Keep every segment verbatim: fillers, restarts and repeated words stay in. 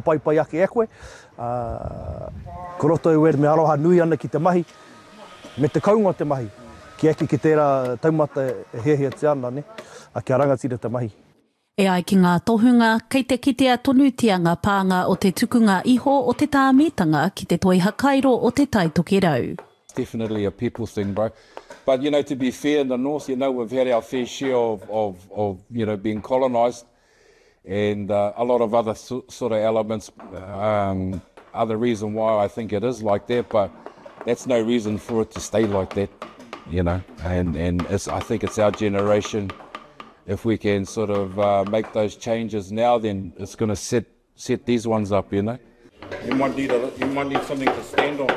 Whakapaipai ake e koe, ā, ko roto i wēnei me aroha nui ana ki te mahi, me te kounga o te mahi, kia eke ki tērā taumata e hiahiatia ana, nē, ā, kia rangatira te mahi. E ai ki ngā tohunga, kei te kitea tonutia ngā pānga o te tukunga iho o te tāmitanga ki te toi hakairo o Te Tai Tokerau. Definitely a people thing, bro. But, you know, to be fair, in the north, you know, we've had our fair share of, of, of you know, being colonised and uh, a lot of other so, sort of elements, um, other reason why I think it is like that, but that's no reason for it to stay like that, you know. And, and it's, I think it's our generation, if we can sort of uh, make those changes now, then it's going to set, set these ones up, you know. You might need, a, you might need something to stand on.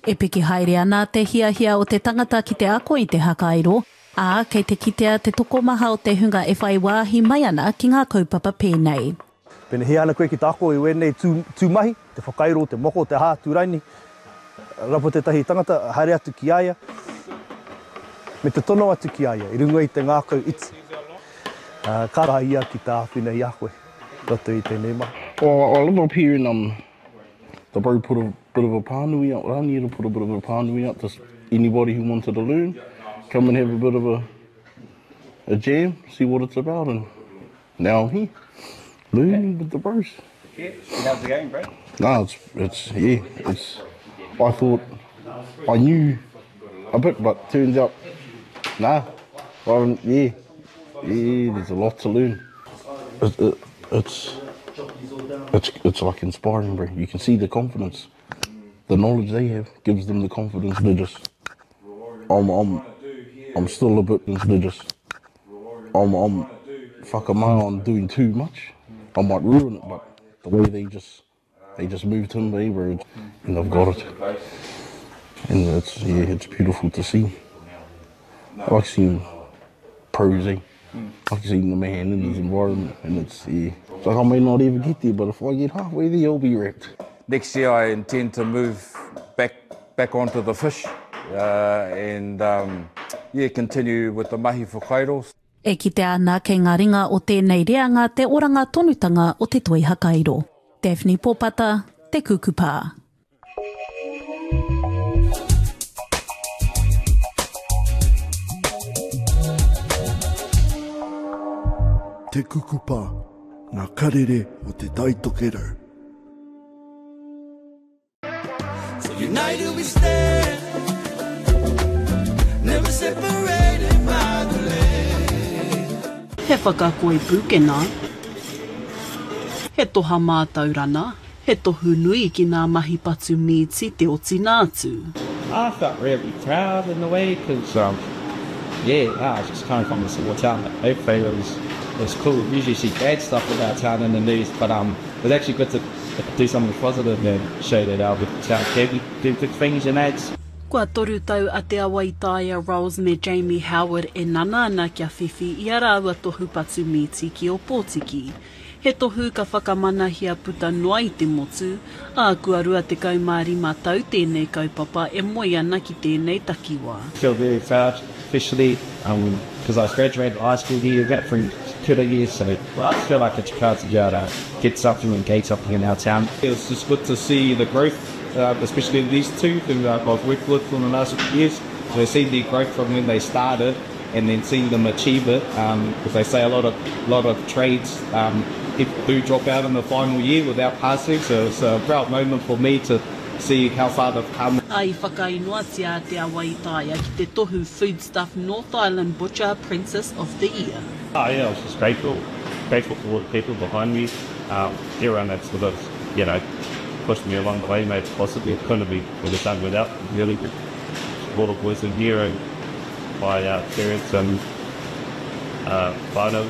E piki haere ana te hiahia o te tangata ki te ako i te hakairo, ā, kei te kitea te tokomaha o te hunga e whai wāhi mai ana ki ngā kaupapa pēnei. Pēnei hia ana koe ki te ako i wēnei tū, tū mahi, te whakairo, te moko, te aha atu raini, rapu tētahi tangata, haere atu ki a ia, me te tono atu ki a ia i runga i te ngākau iti. Ā, ka raha ia ki te āwhina i a koe i roto i tēnei mahi. Well, I live up here in um, the bro put a bit of a pānui out, Raniera put a bit of a pānui out, just anybody who wanted to learn, come and have a bit of a, a jam, see what it's about, and now I'm here, learning with the bros. Yeah, how's it going, bro? No, it's, it's, yeah, it's, I thought I knew a bit, but turns out, nah, I yeah, yeah, there's a lot to learn. It, it, it's, it's, it's like inspiring, bro. You can see the confidence. The knowledge they have gives them the confidence to just, I'm, I'm, I'm still a bit to just, I'm, I'm, fuck am I on doing too much. I might ruin it, but the way they just, they just move timber, eh, bro, and they've got it. And it's, yeah, it's beautiful to see. I like seeing pros, eh? I like seeing the man in his environment, and it's, yeah. It's like I may not even get there, but if I get halfway there, I'll be wrapped. Next year I intend to move back, back onto the fish uh, and um, yeah, continue with the mahi whakairo. E kitea ana kei ngā ringa o tēnei reanga te oranga tonutanga o te toi hakairo. Daphne Popata, Te Kukupā. Te Kukupā, ngā karere o Te Tai Tokerau. So united we stand, never separated by the land. He whakakoi pūkena, he toha mātaurana, he tohu nui ki ngā mahi patu mīti te otina atu. I felt really proud in a way because, um, yeah, I was just coming from a small town. Hopefully it was, it was cool. Usually see bad stuff about town in the news, but um, it was actually good to do something positive and show that our town can do good things and that. Kua toru tau a Te Awaitaia Rolls me Jamie Howard e nana ana kia whiwhi i a rāua tohu patu mīti ki Ōpōtiki. He tohu ka whakamanahia puta noa i te motu, ā, kua rua tekau mā rima tau tēnei kaupapa e moe ana ki tēnei takiwā. I feel very proud, especially um, because I graduated high school here, got through kura years, so I feel like it's proud to be able to get something and gain something in our town. It was just good to see the growth, uh, especially in these two who uh, I've worked with for the last few years. So seeing their growth from when they started and then seeing them achieve it, um, because they say a lot of, lot of trades, um, people do drop out in the final year without passing, so it's a proud moment for me to see how far they've come. I whakainoatia a Te Awaitaia ki te tohu Foodstuff North Island Butcher Apprentice of the Year. Oh yeah, I was just grateful, grateful for all the people behind me, um, everyone that sort of, you know, pushed me along the way, made it possible. It couldn't be would have done without really. All the boys in here and my uh, parents and uh, whānau.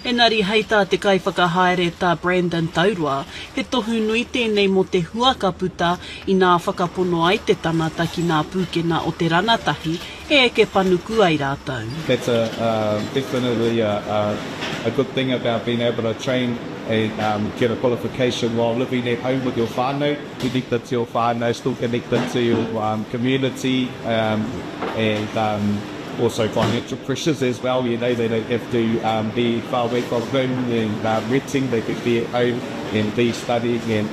Engari hei tā te kaiwhakahaere tā Brandon Taurua, he tohu nui tēnei mō te hua ka puta inā whakapono ai te tangata ki ngā pūkena o te ranatahi e eke panuku ai rātou. That's a, uh, definitely a, a, a good thing about being able to train and um, get a qualification while living at home with your whānau, connected to your whānau, still connected to your um, community, um, and um, also financial pressures as well. You know, they don't have to um, be far away from home and um, renting. They could be at home and be studying and